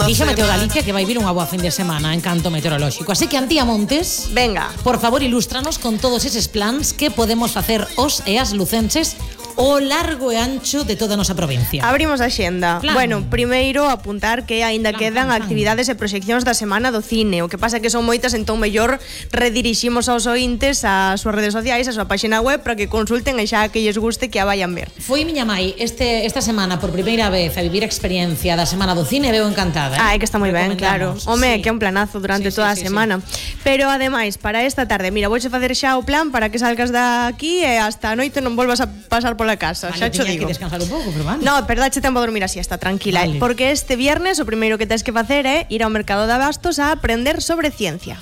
Dixo Meteo Galicia que vai vir unha boa fin de semana en canto meteorolóxico. Así que, Antía Montes, venga, por favor, ilústranos con todos eses plans que podemos facer os e as lucenses o largo e ancho de toda a nosa provincia. Abrimos a xenda. Plan. Bueno, primeiro apuntar que aínda quedan actividades e proxeccións da Semana do Cine. O que pasa é que son moitas, entón mellor rediriximos aos ointes ás súas redes sociais, a súa página web, para que consulten e xa que lles guste que a vayan ver. Foi miña mai esta semana por primeira vez a vivir a experiencia da Semana do Cine, veo encantada. É que está moi ben, claro. Home, que é un planazo durante toda a semana. Pero ademais, para esta tarde, mira, vouche facer xa o plan para que salgas de aquí e hasta a noite non volvas a pasar pola casa, xa cho digo. Vale, que descansar un pouco, pero vale. No, perdache tempo a dormir así, está tranquila, vale. Porque este viernes o primeiro que tens que facer é ir ao mercado de abastos a aprender sobre ciencia.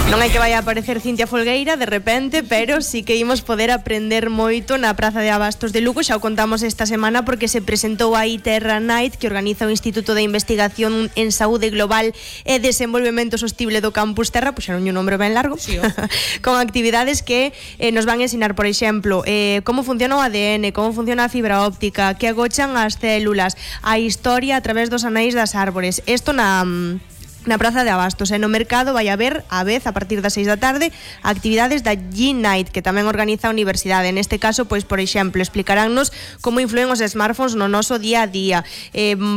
Non hai que vai a aparecer Cintia Folgueira de repente, pero sí que imos poder aprender moito na Praza de Abastos de Lugo. Xa o contamos esta semana porque se presentou a Terra Night, que organiza o Instituto de Investigación en Saúde Global e Desenvolvemento Sostible do Campus Terra, puxeron un nombre ben largo, sí, con actividades que nos van a ensinar, por exemplo, como funciona o ADN, como funciona a fibra óptica, que agochan as células, a historia a través dos anéis das árbores. Isto na Praza de Abastos, e no mercado vai haber a vez a partir das 6 da tarde actividades da G-Night, que tamén organiza a universidade. Neste caso, pois, por exemplo, explicaránnos como influen os smartphones no noso día a día,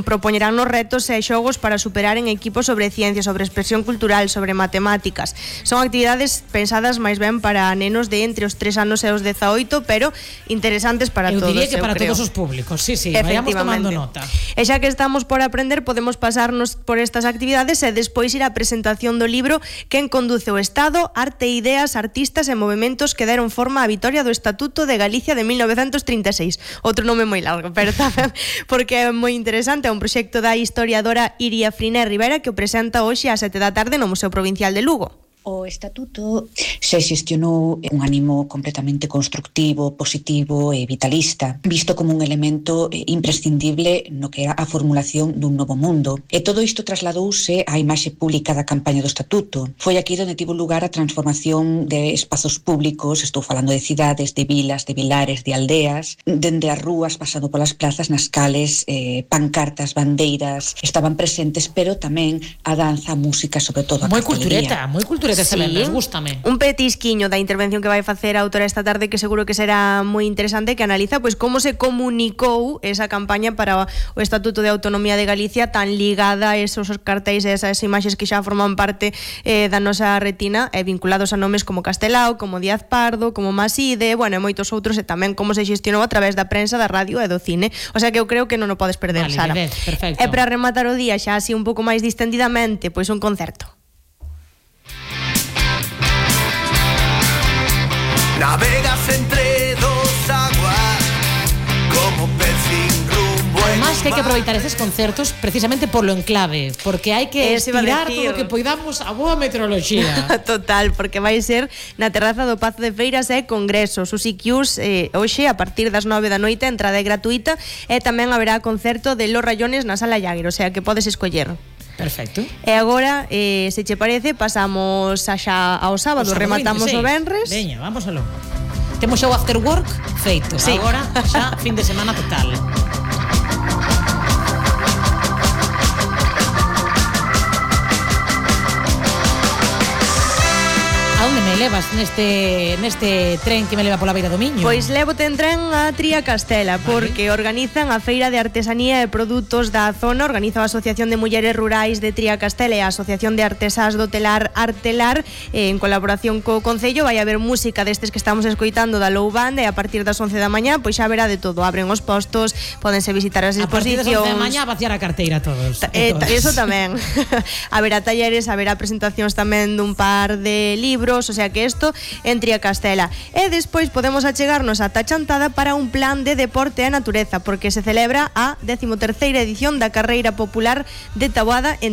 propoñeránnos retos e xogos para superar en equipo sobre ciencia, sobre expresión cultural, sobre matemáticas. Son actividades pensadas máis ben para nenos de entre os 3 anos e os 18, pero interesantes para todos. Eu diría que para todos os públicos, sí, vayamos tomando nota. E xa que estamos por aprender, podemos pasarnos por estas actividades e despois ir á presentación do libro Quen conduce o Estado, arte e ideas, artistas e movementos que deron forma á vitoria do Estatuto de Galicia de 1936. Outro nome moi largo, pero tamén porque é moi interesante, é un proxecto da historiadora Iria Friné Rivera que o presenta hoxe ás 7 da tarde no Museo Provincial de Lugo. O Estatuto se xestionou un ánimo completamente constructivo, positivo e vitalista, visto como un elemento imprescindible no que era a formulación dun novo mundo. E todo isto trasladouse á imaxe pública da campaña do Estatuto. Foi aquí onde tivo lugar a transformación de espazos públicos, estou falando de cidades, de vilas, de vilares, de aldeas, dende as rúas, pasando polas plazas nas cales, pancartas, bandeiras, estaban presentes, pero tamén a danza, a música, sobre todo a cartelería. Moi cultureta. Sí, gústame. Un petisquiño da intervención que vai facer a autora esta tarde, que seguro que será moi interesante, que analiza pois como se comunicou esa campaña para o Estatuto de Autonomía de Galicia, tan ligada a esos cartéis e esas imaxes que xa forman parte da nosa retina, vinculados a nomes como Castelao, como Díaz Pardo, como Maside, bueno, e moitos outros, e tamén como se xestionou a través da prensa, da radio e do cine. O sea que eu creo que non o podes perder, Sara. Perfecto. E para rematar o día xa así un pouco máis distendidamente, pois un concerto. Navegas entre dos aguas como pez sin rumbo. Además que hai que aproveitar estes concertos precisamente polo enclave, porque hai que estirar todo o que poidamos a boa meteoroloxía. Total, porque vai ser na terraza do Pazo de Feiras e Congreso. Os IQs hoxe a partir das 9 da noite, a entrada é gratuita, e tamén haberá concerto de Los Rayones na Sala Llaguer, o sea que podes escoller. Perfecto. E agora, se che parece, pasamos xa ao sábado, rematamos 26. O venres. Veña, vamos aló. Temos xa o after work feito. Sí. Agora xa fin de semana total. A onde me levas neste tren que me leva pola beira do Miño? Pois levote en tren a Tría Castela, porque organizan a Feira de Artesanía e Produtos da zona, organiza a Asociación de Mulleres Rurais de Tría Castela e a Asociación de Artesás do Telar Artelar, en colaboración co Concello. Vai haber música destes que estamos escoitando da Low Band, e a partir das 11 da mañá pois xa verá de todo, abren os postos, pódense visitar as exposicións. A partir das 11 da mañá vaciar a carteira a todos. Eso tamén. Haberá talleres, haberá presentacións tamén dun par de libros, o sea que isto en Tría Castela. E despois podemos achegarnos ata Chantada para un plan de deporte e natureza, porque se celebra a 13ª edición da Carreira Popular de Taboada en